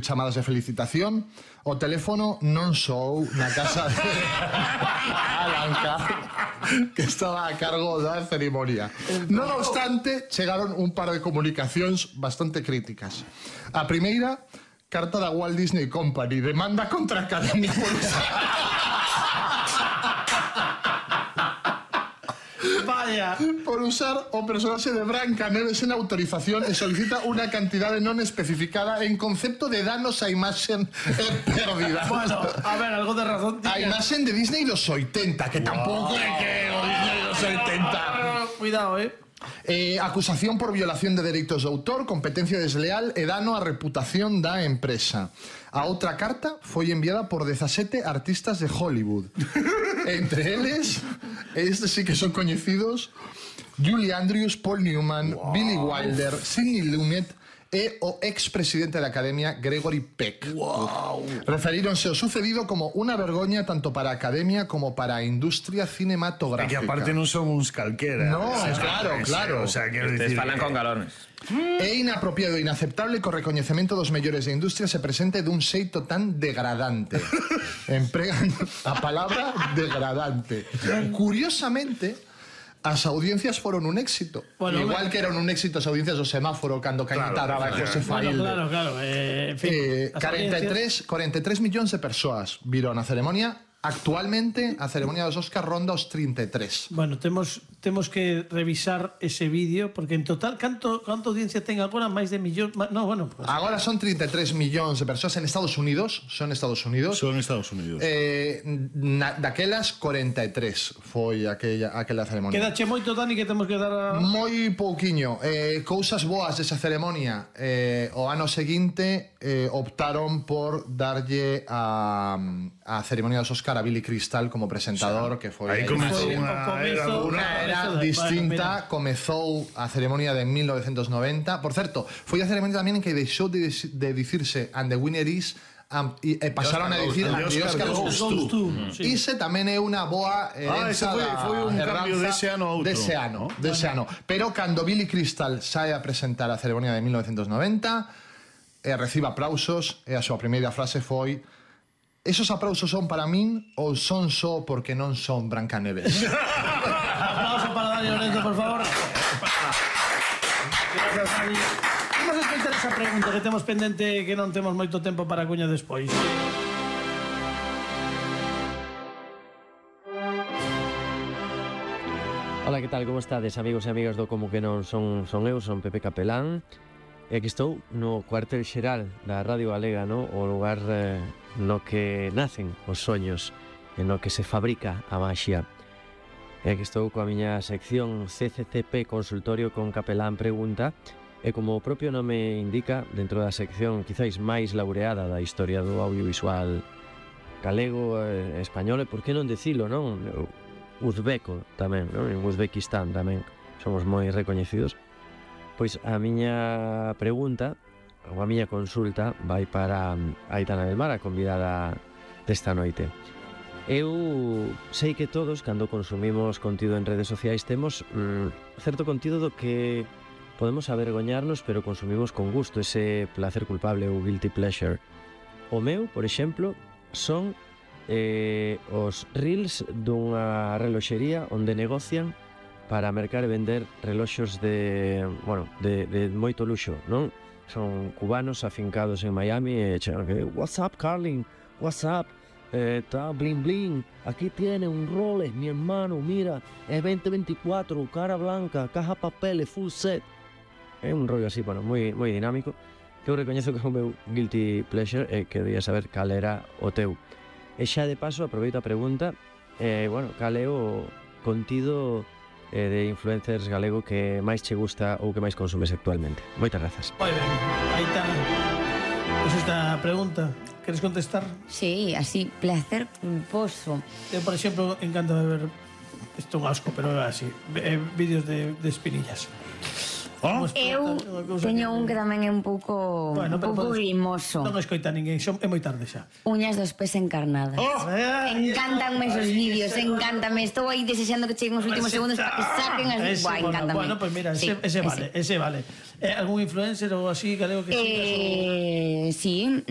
chamadas de felicitación. O teléfono non soou na casa de Alan Carr, que estaba a cargo da ceremonia. Non obstante, chegaron un par de comunicacións bastante críticas. A primeira, carta da Walt Disney Company, demanda contra a Academia por por usar o personaxe de Brancaneves en autorización e solicita unha cantidade non especificada en concepto de danos a imaxen perdida. Bueno, a ver, algo de razón. A imaxen de Disney los 80, que tampouco é que o Disney los 80. Cuidado, Acusación por violación de dereitos de autor, competencia desleal e dano á reputación da empresa. A outra carta foi enviada por 17 artistas de Hollywood. Entre eles, estes sí que son coñecidos, Julie Andrews, Paul Newman, Billy Wilder, Sidney Lumet e o ex-presidente da Academia, Gregory Peck. Referíronse ao sucedido como unha vergoña tanto para a Academia como para a industria cinematográfica. E que aparte non son uns calquera. No, claro. O sea, quero dicir... falan con galones. É inapropiado e inaceptable que o recoñecemento dos mellores da industria se presente dun xeito tan degradante. Empregan a palabra degradante. Curiosamente, as audiencias foron un éxito. Bueno, igual que eran un éxito as audiencias do semáforo cando Cañita daba José Failde. Claro. En fin, 43 millóns de persoas viron a ceremonia. Actualmente a ceremonia dos Óscar ronda os 33. Bueno, temos que revisar ese vídeo porque en total canto audiencia ten agora? Máis de millón? No, bueno, pues... Agora son 33 millóns de persoas en Estados Unidos. Son Estados Unidos. Daquelas 43 foi aquela ceremonia. Quedache moito, Dani, que temos que dar a... Moi pouquiño. Cousas boas desa ceremonia. O ano seguinte optaron por darlle a ceremonia dos Óscar a Billy Crystal como presentador, que foi aí comezou unha era distinta. Comezou a ceremonia de 1990. Por certo, foi a ceremonia tamén en que deixou de dicirse "and the winner is", e pasaron a dicir "and the Oscar goes to". Ise tamén é unha boa heranza. Foi un cambio dese ano a outro. Dese ano. Pero cando Billy Crystal sae a presentar a ceremonia de 1990 e recibe aplausos, e a súa primeira frase foi: "Esos aplausos son para min ou son só porque non son Brancaneves?". Aplauso para Dani Lorenzo, por favor. Gracias, Dani. Vamos a escoitar esa pregunta que temos pendente, que non temos moito tempo para cuña despois. Hola, que tal? Como estades, amigos e amigas do Como que non son eu, son Pepe Capelán. E aquí estou no cuartel xeral da Radio Galega, no? O lugar no que nacen os soños e no que se fabrica a maxia. E aquí estou coa miña sección CCCP Consultorio con Capelán Pregunta, e como o propio nome indica, dentro da sección quizáis máis laureada da historia do audiovisual galego, español, e por que non dicilo, non? Uzbeco tamén, non? En Uzbekistán tamén somos moi recoñecidos. Pois a miña pregunta, ou a miña consulta, vai para Aitana del Mar, a convidada desta noite. Eu sei que todos, cando consumimos contido en redes sociais, temos certo contido do que podemos avergoñarnos, pero consumimos con gusto, ese placer culpable ou guilty pleasure. O meu, por exemplo, son os reels dunha reloxería onde negocian para mercar e vender reloxos de moito luxo, non? Son cubanos afincados en Miami e chegan que "What's up, Carlin? What's up? Está bling bling. Aquí tiene un Rolex, mi hermano, mira, es 2024, cara blanca, caja papeles, full set". É un rollo así, bueno, moi dinámico. Que eu recoñezo que é o meu guilty pleasure e que quería saber cal era o teu. E xa de paso aproveito a pregunta, cal é o contido de influencers galego que máis che gusta ou que máis consumes actualmente? Moitas grazas. Moi ben, aí está. Pois esta pregunta, queres contestar? Sí, así, placer culposo. Eu, por exemplo, encanta ver, isto é un asco, pero é así, vídeos de espinillas. Eu teño un que tamén é un pouco grimoso. Non escoita ninguén, é moi tarde xa. Uñas dos pés encarnadas. Encantanme esos vídeos, encántame. Estou aí desexando que cheguen os últimos segundos para que saquen as... Encántame. Bueno, pues mira, ese vale. Algún influencer ou así galego que sigas? Sí,